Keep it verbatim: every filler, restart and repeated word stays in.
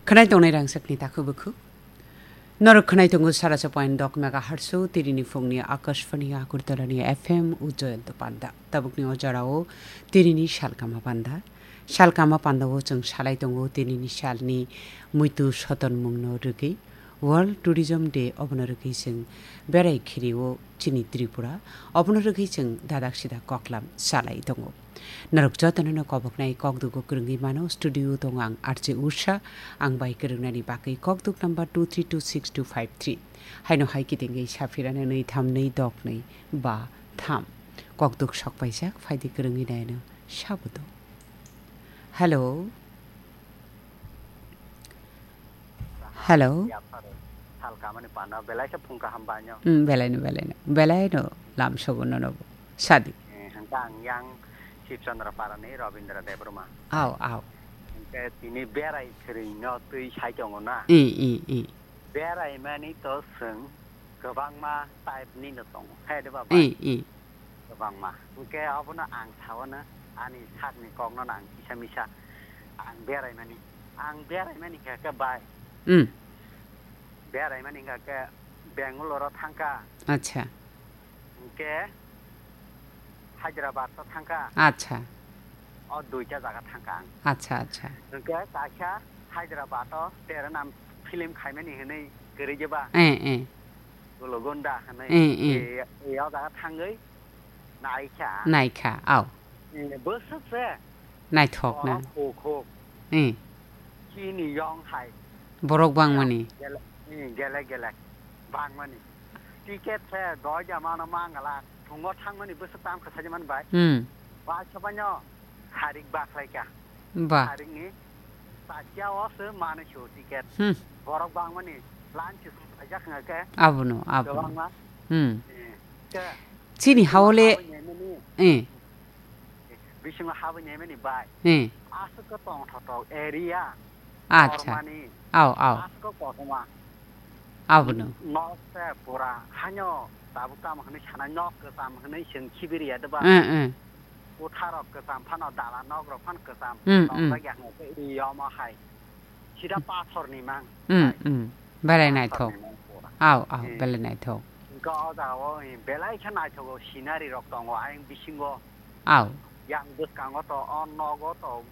Khwnai tongnai rangchakni takhuk bukhuk. Norok khwnai tongo saracha point dok megahertz o tirini phungni Akashvani Agartala ni F M o Jayanta Panda. Tabukni o jorao tirini salkama panda. Salkama panda o chwng salai tongo tirini salni muitu sotonmungno rwgwi World Tourism Day obono rwgwi chwng berai khiri o chini Tripura obono rwgwi chwng dadak sida koklam salai tongo. Norok jotono no koboknai kokdugo kwrwngwi mano. Studio tongo ang R J Usha, ang bai kwrwngnani bagwi kokduk number two three two six two five three. Haino hai kitingwi saphirano nwi tham nwi dok nwi ba tham. Kokduk sokpaijak phaidi kwrwngwi naino sabudo. Hello. Hello. Yapharo. Salkamani pano belai khe phung kaham banyo. Mm, belaino, belaino. Belaino lam sogo nono bo. Sadi. Eh, hwnkhe ang yang Shibchandra Parani Rabindra Debbarma. Aw, aw. Hwnkhe tini berai khwrwino twi sai tongo na. I, i, i. Berai mani to swng kwbangma type ni no tongo. He de ba bai? I, i. Kwbangma. Hwnkhe obono ang saono ani sakni kokno ang kisa misa ang berai mani. Ang berai mani khe khe bai. Mm. Berai mani khe khe Bangalore o thangkha. Acha. Hwnkhe Hyderabad o thangkha. Acha. O duita jaga thangkha ang. Acha, acha. Hwnkhe kaisa Hyderabad o Teranam film khaimani hwnwi kwrwi jeba. Eh, eh. Gulugunda hwnwi. Eh, eh. E, e, o jaga thangwi naikha. Naikha, aw. Eh, bwswk se. Naithok na. Borok khukhuk. Eh. Chini yong hai. Borok bangmani. Gele, eh, gele, gele. Bangmani. Ticket se doija mano mangala. Thungo thangmani bwswk tam kwsajimani bai. Hmm. Bai sabaino. Harik bakhlaika. Ba. Harikni sakya o se mani su ticket. Hmm. Borok bangmani line se sum paijak hwnga khe. Abono, abono. Kwbangma. Hmm. Eh, khe Chini haole. Habai nyaimani. Eh. Bisingo habai nyaimani bai. Eh. Aswk khe tongthotok area. Acha. Kormani. Aw, aw. Aswk khe kothoma. Abono. Nok se pura hanyo tabuk tamo hwnwi sana nok kwcham hwnwi chwng khibiriya de ba. Eh, eh. Kutharok kwcham phano dala nokrok phano kwcham. Hmm, hmm. Tongjak ya hwnwi khe i omo hai. Sida pathorni mang. Hmm, hai. Hmm. Belai naithok. Pathorni mang pura. Aw, aw, eh, belai naithok. Hwnkhe o jagao, eh, belai khe naithogo scenery rok tongo ayang bisingo. Aw. Yang bwskango to, o nogo to,